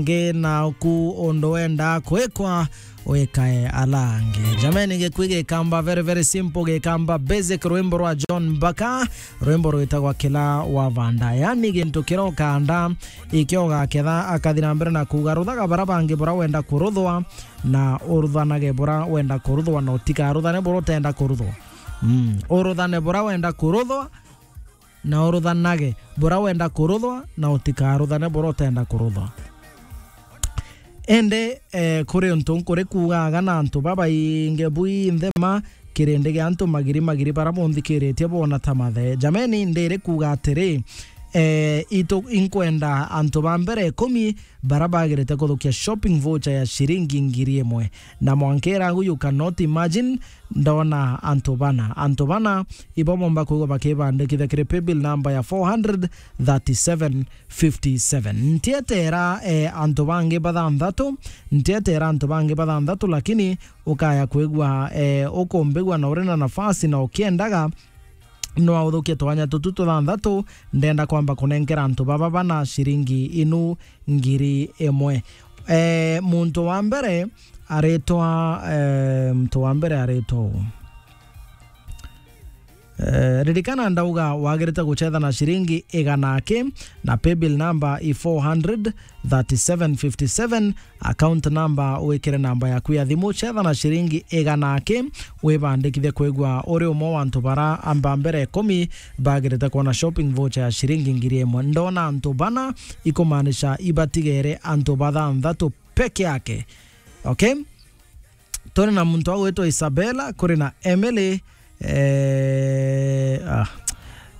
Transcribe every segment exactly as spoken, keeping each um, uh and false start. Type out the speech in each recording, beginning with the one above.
ngi na uku undu wenda kwikwa wikae alangi. Jameni, gikui gikamba very, very simple, gikamba basic, rwimbo rwa John Mbaka, rwimbo rwitagwa Kila Wavanda. Yani gintu kira ukanda, ikio ugaketha, akathi na mbere na kuuga, ruthaga bara bangi bura wenda kuruthwa, na uruthanage bura wenda kuruthwa, na utikaruthane bura utenda kuruthwa. Mm. Uruthane bura wenda kuruthwa, na uruthanage bura wenda kuruthwa, na utikaruthane bura utenda kuruthwa. Indi, eh, kuri untu nkuri kuugaga na antu babaingi bwinthe ma kirindi gia antu magiri magiri bara bunthikiritie bona ta mathe. Jameni, ndiri kuuga atiri, eh, itu inkwenda antu ba mbere ikumi bara bagirite kuthukia shopping voucher ya ciringi ngiri imwe. Na mwanka iragu, you cannot imagine, ndona antu bana. Antu bana ibo bomba kwigwa bakibandikithia kiri paybill number ya four hundred thirty-seven fifty-seven. Ntietera, eh, antu bangi bathanthatu, ntietera antu bangi bathanthatu, lakini ukaya kwigua, eh, ukumbigua na uri na nafasi na ukiendaga, no authukie twanya tutu tuthanthatu, ndenda kwamba kunenkera antu baba bana ciringi inu ngiri imwe. Eh, muntu wa mbere aritwa, eh, muntu wa mbere aritwa u. Eh, ririkana ndauga wagirite gucetha na ciringi igana aki, na paybill number i four hundred thirty-seven fifty-seven, account number wikire namba yaku ya thimu, cetha na ciringi igana aki, wibandikithie kwigua uri umwe wa antu bara amba mbere ikumi bagirite kwona shopping voucher ya ciringi ngiri imwe. Ndona antu bana, ikumaanisha ibatigere antu bathanthatu peke yake. Okay? Turi na muntu agwitwa Isabella, kuri na Emily, eh, ah,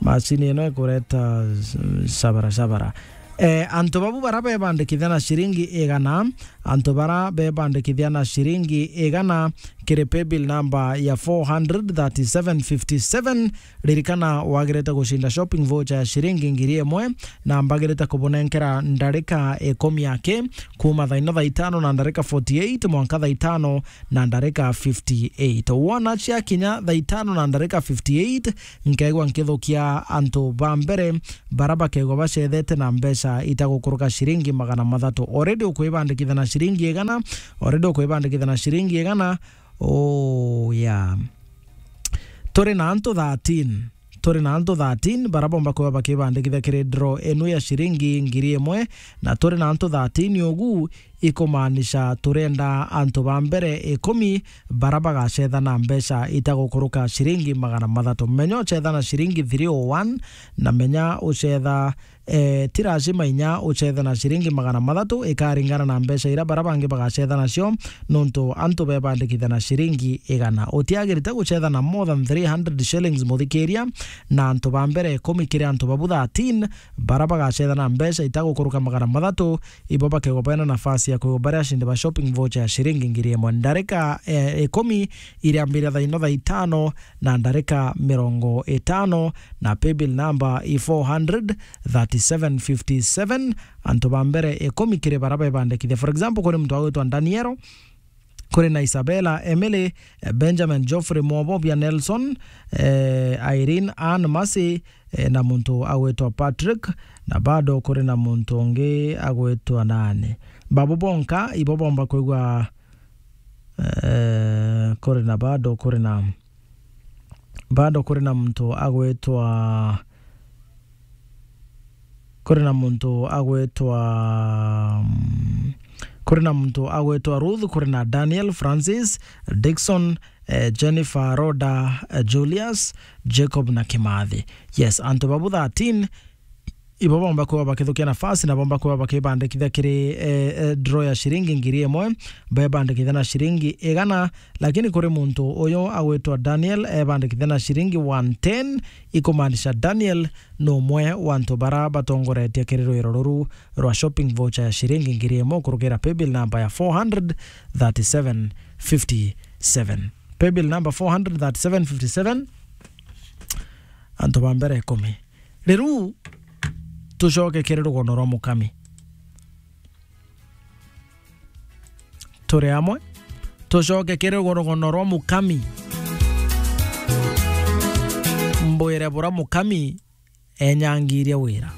macini ino ikureta s-, shabara shabara. Eh, antu babu bara bebandikithia na ciringi igana, antu bara bebandikithia na ciringi igana kiri paybill number ya four hundred thirty-seven fifty-seven, ririkana wagirite gucinda shopping voucher ya ciringi ngiri imwe, na mbagirite kubunenkera ndarika ikumi aki, kuma thaa ino thaa itano na ndarika forty-eight mwanka thaa itano na ndarika fifty-eight. Wona ciakinya thaa itano na ndarika fifty-eight, nkeegwa nkithukia antu ba mbere bara bakeegwa bacethete na mbeca itagukuruka ciringi magana mathatu. Already ukwibandikithia na ciringi igana, already ukwibandikithia na ciringi igana. Oh, yeah. Turi na antu thirteen. Turi na antu thirteen bara bomba kwigwa bakibandikithia kiri draw inu ya ciringi ngiri imwe, na turi na antu thirteen ugu, ikumaanisha turenda antu ba mbere ikumi bara bagacetha na mbeca itagukuruka ciringi magana mathatu. Menya ucetha na ciringi three oh one, na menya ucetha, eh, ti lazima inya ucethe na ciringi magana mathatu, ikaringana na mbeca iria bara bangi bagacetha nacio, nontu antu bebandikithia na ciringi igana. Utiagirite gucetha na more than three hundred shillings, muthikiria, na antu ba mbere ikumi kiri antu babu thirteen bara bagacetha na mbeca itagukuruka magana mathatu, ibo bakegwa bena nafasi ya kwigwa bari acindi ba shopping voucher ya ciringi ngiri imwe. Ndarika, eh, ikumi iriambira thaa ino thaa itano na ndarika mirongo itano, na paybill number i four hundred thirty-seven fifty-seven. Antu ba mbere ikumi kiri bara bebandikithia. For example, kuri muntu agwitwa Daniel, kuri na Isabella, Emily, eh, Benjamin, Geoffrey, Mwobobia, Nelson, eh, Irene, Anne, Mercy, eh, na muntu agwitwa Patrick, na bado kuri na muntu ungi agwitwa nani. Babu bonka ibo bomba kwigwa, eh, kuri na bado kuri na, bado kuri na muntu agwitwa, kuri na muntu agwitwa, mm, kuri na muntu agwitwa Ruth, kuri na Daniel, Francis, Dickson, eh, Jennifer, Rhoda, eh, Julius, Jacob na Kimathi. Yes, antu babu thirteen ibo bomba kwigwa bakithukia nafasi na bomba kwigwa bakibandikithia kiri, eh, eh, draw ya ciringi ngiri imwe, bebandikithia na ciringi igana, lakini kuri muntu uyu agwitwa Daniel ebandikithia na ciringi one ten, ikumaanisha Daniel ni umwe wa antu bara batongoretie kiri rwiro ruru rwa shopping voucher ya ciringi ngiri imwe kurugira paybill number ya four hundred thirty-seven fifty-seven. Paybill number four hundred thirty-seven fifty-seven, antu ba mbere ikumi. Riu tucoke kiri rugono rwa mukami. Turi amwe. Tucoke kiri rugono rwa mukami. Mbwire bura mukami enyangirie wira.